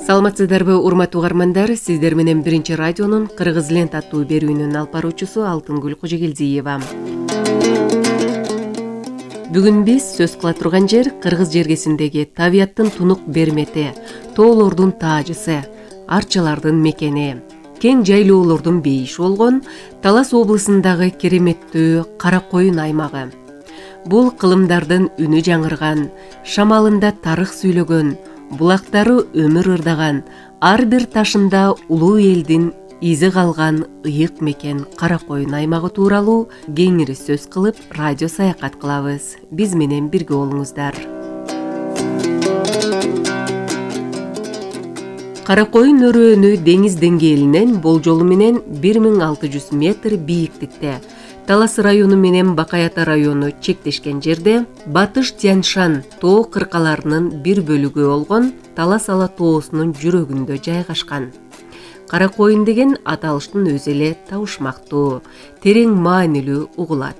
Саламатсыздарбы, урматтуу угармандар? Сиздер менен Биринчи радионун Кыргыз лент аттуу берүүнүн алып баруучусу Алтынгүл Кожогелдиева. Бүгүн биз сөз кыла турган жер Кыргыз жергесиндеги табияттын тунук бермети, тоолордун таажысы, арчалардын мекени, кең жайлоолордун бейиши болгон Талас облусундагы кереметтүү Кара Коюн аймагы. Бул кылымдардын үнү жаңырган, шамалында тарых сүйлөгөн, булактары өмүр ырдаган, ар бир ташында улуу элдин изи калган ыйык мекен Кара Коюн аймагы тууралуу кеңири сөз кылып, радио саякат кылабыз. Биз менен бирге болуңуздар. Кара Коюн өрөөнү деңиз деңгээлинен болжолу менен 1600 метр бийиктикте, Талас району менен Бакай Ата району чектешкен жерде Батыш Тянь-Шань тоо кыркаларынын бир бөлүгү болгон Талас Ала тоосунун жүрөгүндө жайгашкан. Кара Коюн деген аталыштын өзү эле табышмактуу, терең маанилүү угулат.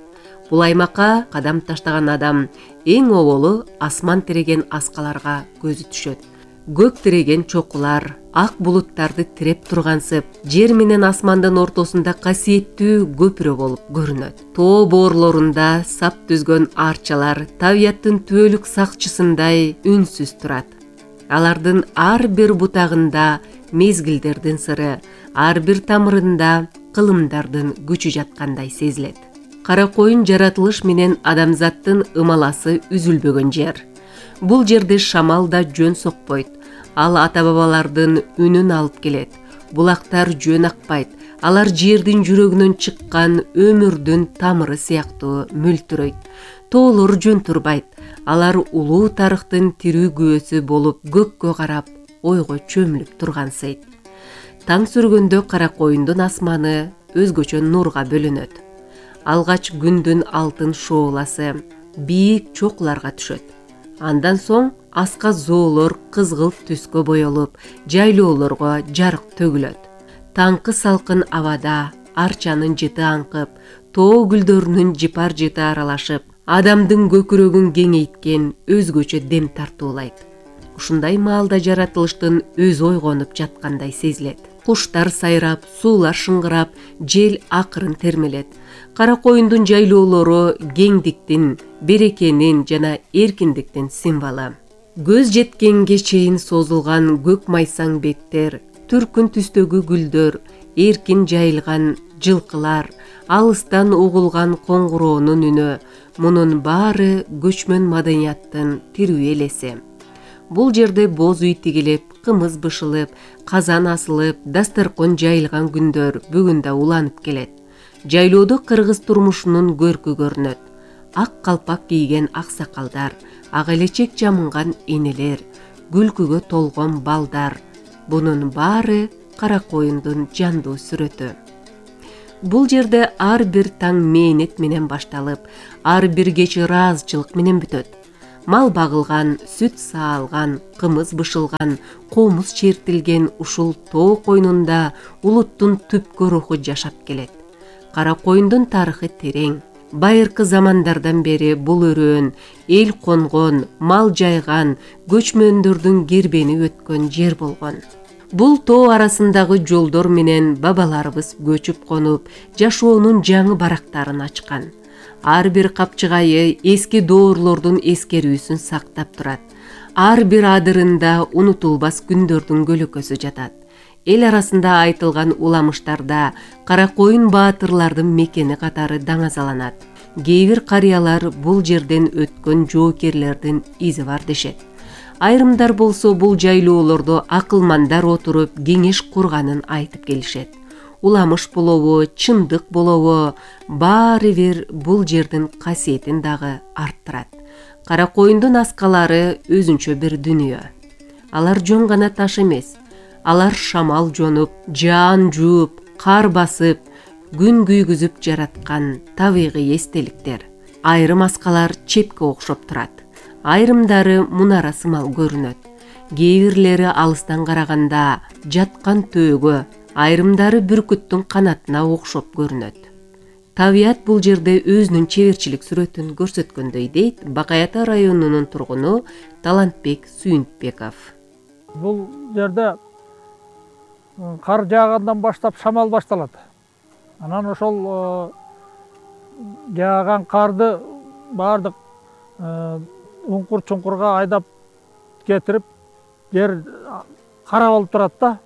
Бул аймакка кадам таштаган адам эң оболу асман тиреген аскаларга көзү түшөт. Көк тиреген чокулар, ак булуттарды тиреп тургансып, жер менен асмандын ортосунда касиеттүү көпүрө болуп көрүнөт. Тоо боорлорунда сап түзгөн арчалар табияттын түбөлүк сакчысындай үнсүз турат. Алардын ар бир бутагында мезгилдердин сыры, ар бир тамырында кылымдардын күчү жаткандай сезилет. Кара Коюн жаратылыш менен адамзаттын ымаласы үзүлбөгөн жер. Бул жерде шамал да жөн сокпойт. Ал ата-бабалардын үнүн алып келет. Булактар жөн акпайт. Алар жердин жүрөгүнөн чыккан өмүрдүн тамыры сыяктуу мөлтүрөйт. Тоолор жөн турбайт. Алар улуу тарыхтын тирүү күбөсү болуп көккө карап, ойго чөмүлүп тургансыйт. Таң сүргөндө Кара Коюндун асманы өзгөчө нурга бөлөнөт. Алгач күндүн алтын шооласы бийик чокуларга түшөт. Андан соң аска зоолор кызгылт түскө боелуп, жайлоолорго жарык төгүлөт. Таңкы салкын абада арчанын жыты аңкып, тоо гүлдөрүнүн жыпар жыты аралашып, адамдын көкүрөгүн кеңейткен өзгөчө дем тартуулайт. Ушундай маалда жаратылыштын өзү ойгонуп жаткандай сезилет. Куштар сайрап, суулар шыңгырап, жел акырын термелет. Кара Коюндун жайлоолору кеңдиктин, берекенин жана эркиндиктин символу. Көз жеткенге чейин созулган көк майсаң беттер, түркүн түстөгү гүлдөр, эркин жайылган жылкылар, алыстан угулган коңгуроонун үнү, мунун баары көчмөн маданияттын тирүү элеси. Бул жерде боз үй тигилип, кымыз бышылып, казан асылып, дасторкон жайылган күндөр бүгүн да уланып келет. Жайлоодо кыргыз турмушунун көркү көрүнөт. Ак калпак кийген аксакалдар, ак элечек жамынган энелер, күлкүгө толгон балдар. Бунун баары Кара Коюндун жандуу сүрөтү. Бул жерде ар бир таң мээнет менен башталып, ар бир кеч ыраазычылык менен бүтөт. Мал багылган, сүт саалган, кымыз бышылган, комуз чертилген ушул тоо койнунда улуттун түпкү руху жашап келет. Кара Коюндун тарыхы терең. Байыркы замандардан бери бул өрөөн эл конгон, мал жайган, көчмөндөрдүн кербени өткөн жер болгон. Бул тоо арасындагы жолдор менен бабаларыбыз көчүп конуп, жашоонун жаңы барактарын ачкан. Ар бир капчыгайы эски доорлордун эскерүүсүн сактап турат. Ар бир адырында унутулбас күндөрдүн көлөкөсү жатат. Эл арасында айтылган уламыштарда Кара Коюн баатырлардын мекени катары даңазаланат. Кээ бир карыялар бул жерден өткөн жоокерлердин изи бар дешет. Айрымдар болсо бул жайлоолордо акылмандар отуруп кеңеш курганын айтып келишет. Уламыш болобу, чындык болобу, баары бир бул жердин касиетин дагы арттырат. Кара Коюндун аскалары өзүнчө бир дүнүйө. Алар жөн гана таш эмес. Алар шамал жонуп, жаан жууп, кар басып, күн күйгүзүп жараткан табигый эстеликтер. Айрым аскалар чепке окшоп турат. Айрымдары мунара сымал көрүнөт. Кээ бирлери алыстан караганда жаткан төөгө, айрымдары бүркүттүн канатына окшоп көрүнөт. Табият бул жерде өзүнүн чеберчилик сүрөтүн көрсөткөндөй дейт Бакай Ата районунун тургуну Талантбек Сүйүнтбеков. Бул жерде кар жаагандан баштап шамал башталат. Анан ошол жааган карды баардык уңкур чуңкурга айдап кетирип, жер кара болуп турат да.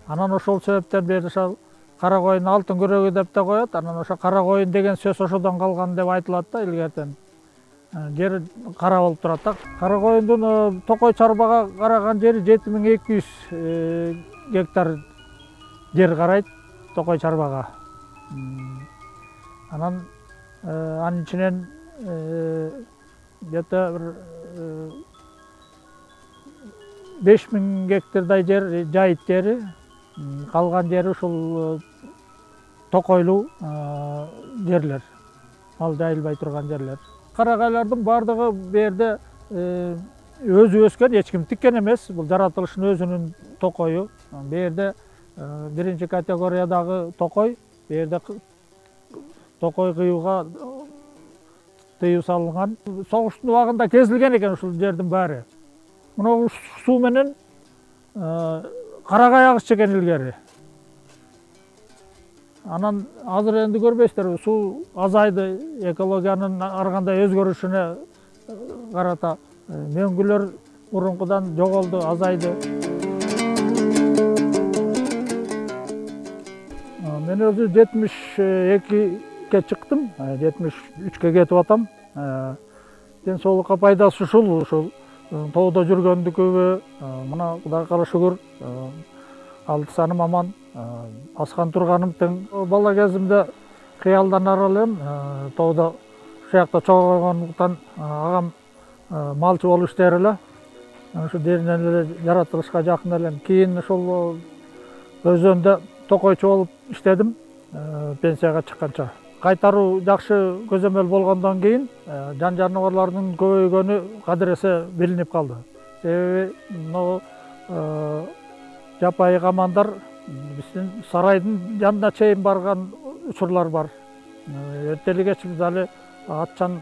Анан ошол себептен бери ошол кара коюн алтын күрөгү деп да коет. Анан ошо кара коюн деген сөз ошодон калган деп айтылат да илгертен. Жер кара болуп турат да. Кара коюндун Токой чарбага караган жери 7200 гектар жер карайт Токой чарбага. Анан анын ичинен где-то 5000 гектардай жер жайыт жери, калган жери ушул токойлуу жерлер, ал жайылбай турган жерлер. Карагайлардын баардыгы бу жерде өзү өскөн, эч ким тиккен эмес. Бул жаратылыштын өзүнүн токою. Бу жерде биринчи категориядагы токой, бу жерде токой кыюуга тыюу салынган. Согуштун убагында кезилген экен ушул жердин баары. Мына суу менен карагай агышчу экен илгери. Анан азыр энди көрбөйсүздөр, суу азайды, экологиянын ар кандай өзгөрүшүнө карата мөңгүлөр мурункудан жоголду, азайды. Мен өзү 72-ке чыктым, 73-кө кетип атам. Ден соолукка пайдасы ушул тоодо жүргөндүкүбү, мына Кудайга кара шүгүр, алдысаным аман, аскан турганым тең. Бала кезимде кыялданар элем, тоодо ушул жакта чогойгондуктан агам малчы болуп иштер эле. Ошо деринен эле жаратылышка жакын элем. Кийин ошол өзөндө токойчу болуп иштедим, пенсияга чыкканча. Кайтаруу жакшы көзөмөл болгондон кийин жан жаныбарлардын көбөйгөнү кадыресе билинип калды. Себеби могу жапайы камандар биздин сарайдын жанына чейин барган учурлар бар. Эртели кеч мисалы атчан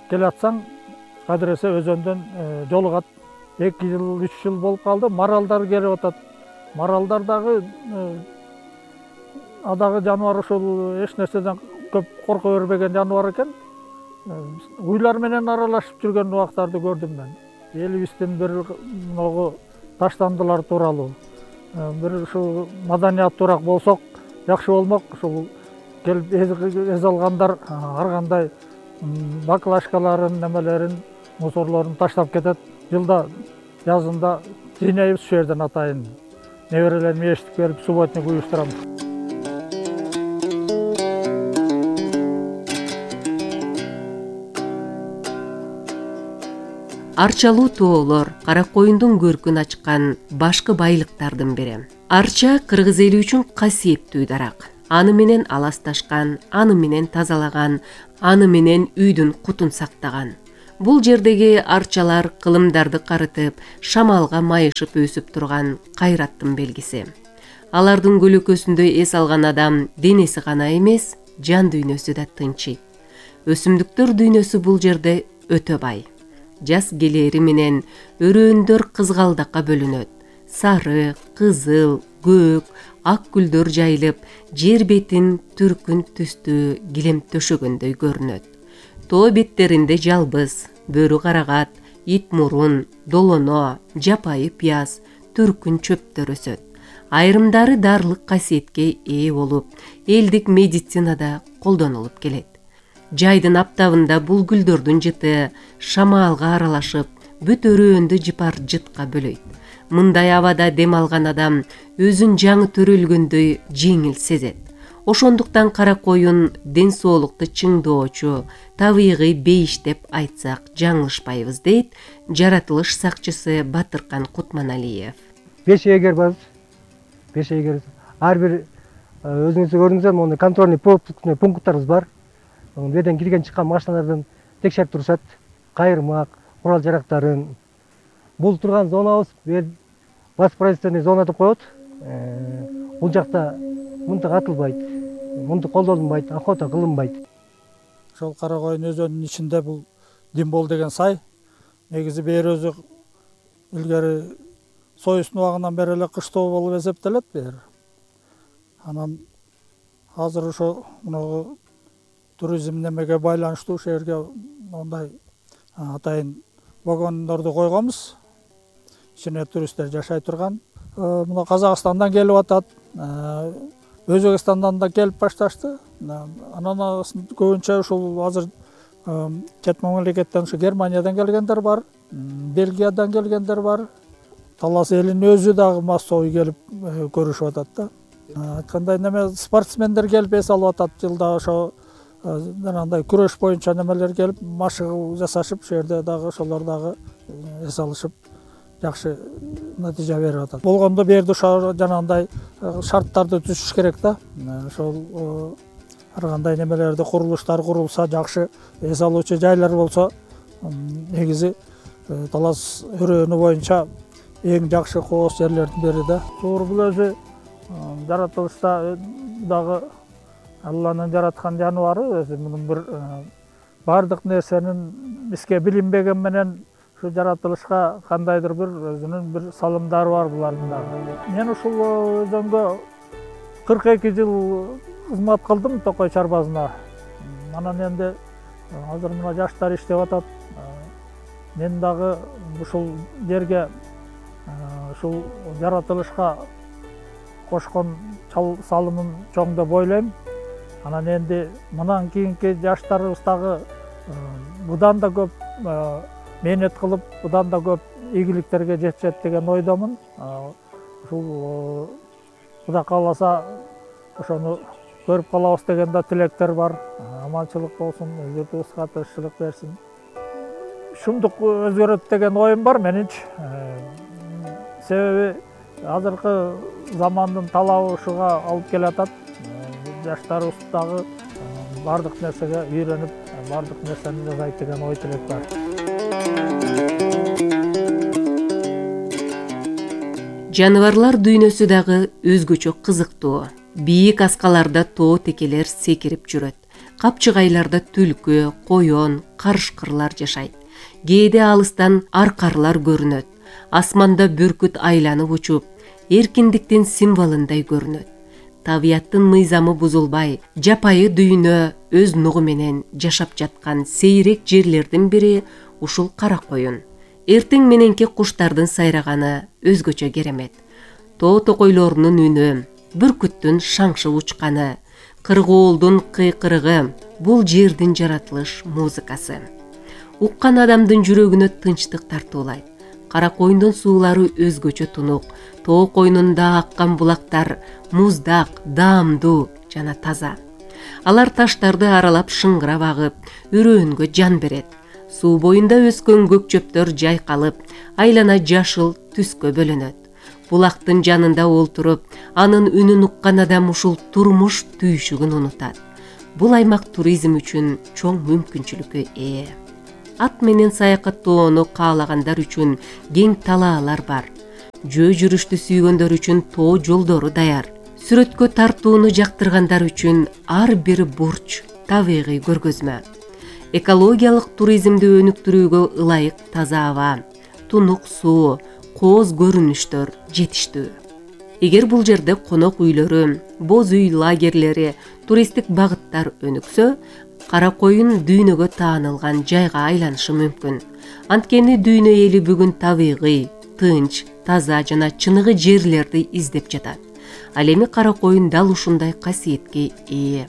келе атсаң, кадыресе өзөндөн жолугат. 2 жыл, 3 жыл болуп калды. Маралдар келип атат. Маралдар дагы адагы жаныбар ушул эч нерседен көп корко бербеген жаныбар экен. Уйлар менен аралашып жүргөн убактарды көрдүм мен. Элибиздин бир могу таштандылар тууралуу, бир ушул маданиятуураак болсок жакшы болмок. Ушул келип эз алгандар ар кандай баклажкаларын, немелерин, мусорлорун таштап кетет. Жылда жазында жыйнайбыз ушул жерден атайын. Неберелерим эшитип берип, субботник уюштурам. Арчалуу тоолор кара коюндун көркүн ачкан башкы байлыктардын бири. Арча кыргыз эли үчүн касиеттүү дарак. Аны менен аласташкан, аны менен тазалаган, аны менен үйдүн кутун сактаган. Бул жердеги арчалар кылымдарды карытып, шамалга майышып өсүп турган кайраттын белгиси. Алардын көлөкөсүндө эс алган адам денеси гана эмес, жан дүйнөсү да тынчыйт. Өсүмдүктөр дүйнөсү бул жерде өтө бай. Жаз келери менен өрөөөндөр кызгалдакка бөлүнөт. Сары, кызыл, көк, ак гүлдөр жайылып, жер бетин түркүн түстүү килем төшөгөндөй көрүнөт. Тоо беттеринде жалбыз, бөрү карагат, ит мурун, долоно, жапайы пияз, түркүн чөптөр өсөт. Айрымдары дарылык касиетке ээ болуп, элдик медицинада колдонулуп келет. Жайдын аптабында бул гүлдөрдүн жыты шамалга аралашып, бүт өрөөндү жыпар жытка бөлөйт. Мындай абада дем алган адам өзүн жаңы төрөлгөндөй жеңил сезет. Ошондуктан кара коюн ден соолукту чыңдоочу, табигый бейиш деп айтсак жаңылышпайбыз, дейт жаратылыш сакчысы Батыркан Кутманалиев. 5 эгер бар. 5 эгер. Ар бир өзүңүз көрдүңүздөр, мону контрольный пункттарыбыз бар. Бу жерден кирген чыккан машиналардан текшерип турушат. Кайырмак, курал жарактарын. Бул турган зонабыз баспроизводственный зона деп коет. Бул жакта мынтык атылбайт, мынтык колдонулбайт, охота кылынбайт. Ошол кара коюн өзөнүнүн ичинде бул Димбол деген сай. Негизи бери өзү илгери Союздун убагынан бери эле кыштоо болуп эсептелет бу жер. Анан азыр ошо мунагу туризм немеге байланыштуу ушул жерге мондай атайын вагондорду койгонбуз. Ичине туристтер жашай турган. Мына Казакстандан келип атат, Өзбекстандан да келип башташты. Анан көбүнчө ушул азыр чет мамлекеттен ушу Германиядан келгендер бар, Бельгиядан келгендер бар. Талас элинин өзү дагы массовый келип көрүшүп атат да. Айткандай неме спортсмендер келип эс алып атат. Жылда ошо жанагындай күрөш боюнча немелер келип машыгуу жасашып, ошол жерде дагы ошолор дагы эс алышып жакшы натыйжа берип атат. Болгондо бу жерде ошо жанагындай шарттарды түзүш керек да. Ошол ар кандай немелерди курулуштар курулса, жакшы эс алуучу жайлар болсо, негизи талас өрөөнү боюнча эң жакшы кооз жерлердин бири да. Туура бул өзү жаратылышта дагы Алланын жараткан жаныбары, өзү мунун бир бардык нерсенин бизге билинбеген менен ушу жаратылышка кандайдыр бир өзүнүн бир салымдары бар булардын дагы. Мен ушул өзөнгө 42 жыл кызмат кылдым Токой чарбазына. Анан энди азыр мына жаштар иштеп атат. Мен дагы ушул жерге ушул жаратылышка кошкон салымым чоң деп ойлойм. Анан энди мындан кийинки жаштарыбыз дагы будан да көп мээнет кылып, будан да көп ийгиликтерге жетишет деген ойдомун. Ушул Кудай кааласа ошону көрүп калабыз деген да тилектер бар. Аманчылык болсун, журтубузга тынччылык берсин. Шумдук өзгөрөт деген оюм бар менинчи. Себеби азыркы замандын талабы ушуга алып келатат. Жаштарыбыз дагы бардык нерсеге үйрөнүп, бардык нерсени жасайт деген ой тилек бар. Жаныбарлар дүйнөсү дагы өзгөчө кызыктуу. Бийик аскаларда тоо текелер секирип жүрөт. Капчыгайларда түлкү, коён, карышкырлар жашайт. Кээде алыстан аркарлар көрүнөт. Асманда бүркүт айланып учуп, эркиндиктин символундай көрүнөт. Табияттын мыйзамы бузулбай, жапайы дүйнө өз нугу менен жашап жаткан сейрек жерлердин бири ушул кара коюн. Эртең мененки куштардын сайраганы өзгөчө керемет. Тоо токойлорунун үнү, бүркүттүн шаңшып учканы, кыргоолдун кыйкырыгы бул жердин жаратылыш музыкасы. Уккан адамдын жүрөгүнө тынчтык тартуулайт. Кара коюндун суулары өзгөчө тунук. Тоо койнунда аккан булактар муздак, даамдуу жана таза. Алар таштарды аралап шыңгырап агып, үрөөнгө жан берет. Суу боюнда өскөн көк чөптөр жайкалып, айлана жашыл түскө бөлөнөт. Булактын жанында олтуруп, анын үнүн уккан адам ушул турмуш түйшүгүн унутат. Бул аймак туризм үчүн чоң мүмкүнчүлүккө ээ. Ат менен саякаттоону каалагандар үчүн кең талаалар бар. Жөө жүрүштү сүйгөндөр үчүн тоо жолдору даяр. Сүрөткө тартууну жактыргандар үчүн ар бир бурч табигый көргөзмө. Экологиялык туризмди өнүктүрүүгө ылайык таза аба, тунук суу, кооз көрүнүштөр жетиштүү. Эгер бул жерде конок үйлөрү, боз үй лагерлери, туристтик багыттар өнүксө, кара коюн дүйнөгө таанылган жайга айланышы мүмкүн. Анткени дүйнө эли бүгүн табигый, тынч, таза жана чыныгы жерлерди издеп жатат. Ал эми кара коюн дал ушундай касиетке ээ.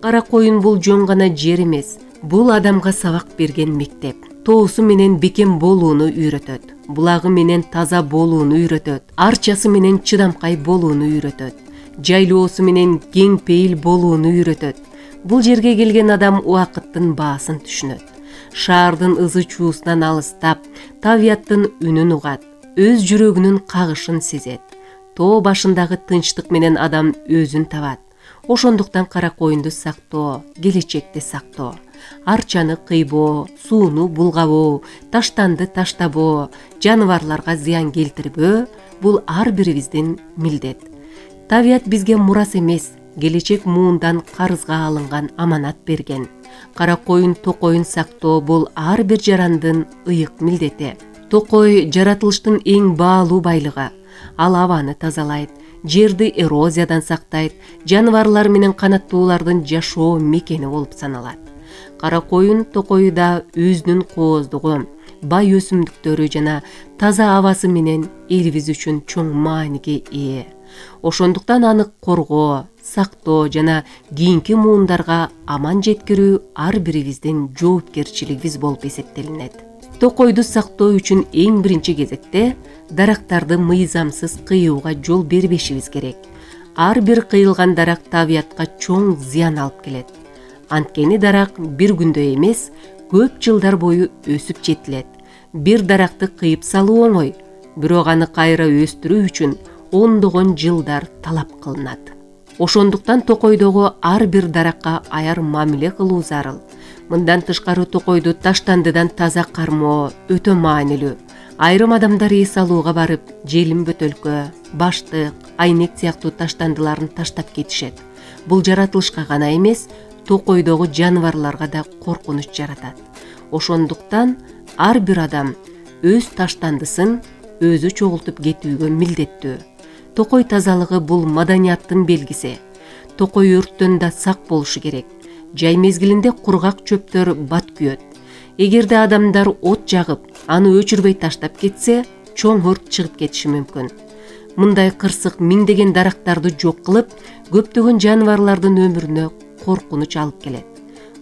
Кара коюн бул жөн гана жер эмес, бул адамга сабак берген мектеп. Тоосу менен бекем болууну үйрөтөт. Булагы менен таза болууну үйрөтөт. Арчасы менен чыдамкай болууну үйрөтөт. Жайлоосу менен кең пейил болууну үйрөтөт. Бул жерге келген адам убакыттын баасын түшүнөт. Шаардын ызы чуусунан алыстап, табияттын үнүн угат, өз жүрөгүнүн кагышын сезет. Тоо башындагы тынчтык менен адам өзүн табат. Ошондуктан кара коюнду сактоо, келечекти сактоо. Арчаны кыйбоо, сууну булгабоо, таштанды таштабоо, жаныбарларга зыян келтирбөө бул ар бирибиздин милдет. Табият бизге мурас эмес, келечек муундан карызга алынган аманат берген. Кара коюн токоюн сактоо бул ар бир жарандын ыйык милдети. Токой жаратылыштын эң баалуу байлыгы. Ал абаны тазалайт, жерди эрозиядан сактайт, жаныбарлар менен канаттуулардын жашоо мекени болуп саналат. Кара коюн токою да өзүнүн кооздугу, бай өсүмдүктөрү жана таза абасы менен элибиз үчүн чоң мааниге ээ. Ошондуктан аны коргоо, сактоо жана кийинки муундарга аман жеткирүү ар бирибиздин жоопкерчилигибиз болуп эсептелинет. Токойду сактоо үчүн эң биринчи кезекте дарактарды мыйзамсыз кыюуга жол бербешибиз керек. Ар бир кыйылган дарак табиятка чоң зыян алып келет. Анткени дарак бир күндө эмес, көп жылдар бою өсүп жетилет. Бир даракты кыйып салуу оңой, бирок аны кайра өстүрүү үчүн ондогон жылдар талап кылынат. Ошондуктан токойдогу ар бир даракка аяр мамиле кылуу зарыл. Мындан тышкары токойду таштандыдан таза кармоо өтө маанилүү. Айрым адамдар эс алууга барып, желим бөтөлкө, баштык, айнек сыяктуу таштандыларын таштап кетишет. Бул жаратылышка гана эмес, токойдогу жаныбарларга да коркунуч жаратат. Ошондуктан ар бир адам өз таштандысын өзү чогултуп кетүүгө милдеттүү. Токой тазалыгы бул маданияттын белгиси. Токой өрттөн да сак болушу керек. Жай мезгилинде кургак чөптөр бат күйөт. Эгерде адамдар от жагып, аны өчүрбөй таштап кетсе, чоң өрт чыгып кетиши мүмкүн. Мындай кырсык миңдеген дарактарды жок кылып, көптөгөн жаныбарлардын өмүрүнө коркунуч алып келет.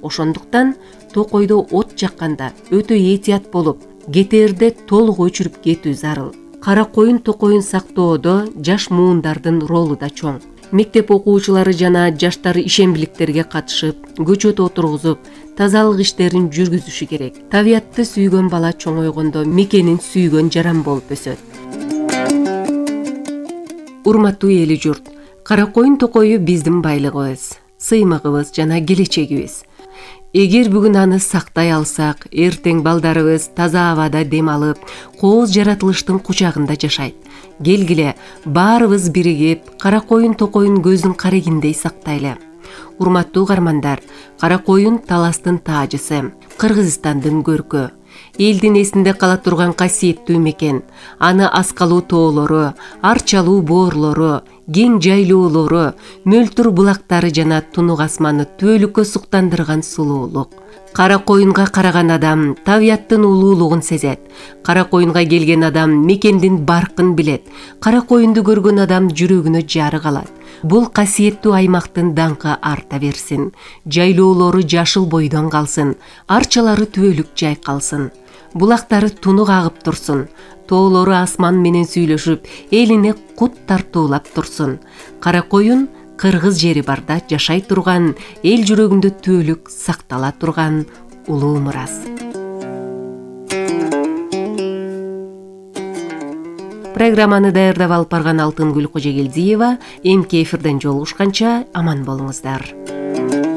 Ошондуктан токойдо от жакканда өтө этият болуп, кетээрде толук өчүрүп кетүү зарыл. Кара коюн токойун сактоодо жаш муундардын ролу да чоң. Мектеп окуучулары жана жаштар ишембиликтерге катышып, көчөт отургузуп, тазалык иштерин жүргүзүшү керек. Табиятты сүйгөн бала чоңойгондо мекенин сүйгөн жаран болуп өсөт. Урматтуу эли журт, кара коюн токою биздин байлыгыбыз, сыймыгыбыз жана келечегибиз. Эгер бүгүн аны сактай алсак, эртең балдарыбыз таза абада дем алып, кооз жаратылыштын кучагында жашайт. Келгиле, баарыбыз биригип, кара коюн токойун көздүн карегиндей сактайлы. Урматтуу угармандар, кара коюн таластын таажысы, Кыргызстандын көркү. Элдин эсинде кала турган касиеттүү мекен. Аны аскалуу тоолору, арчалуу боорлору, кең жайлоолору, мөлтүр булактары жана тунук асманы түбөлүккө суктандырган сулуулук. Кара коюнга караган адам табияттын улуулугун сезет. Кара коюнга келген адам мекендин баркын билет. Кара коюнду көргөн адам жүрөгүнө жары калат. Бул касиеттүү аймактын даңкы арта берсин. Жайлоолору жашыл бойдон калсын, арчалары түбөлүк жайкалсын. Булактары тунук агып турсун. Тоолору асман менен сүйлөшүп, элине кут тартуулап турсун. Кара коюн кыргыз жери барда жашай турган, эл жүрөгүндө түбөлүк сактала турган улуу мурас. Программаны даярдап алып барган Алтынгүл Кожогелдиева. Эмки эфирден жолугушканча аман болуңуздар.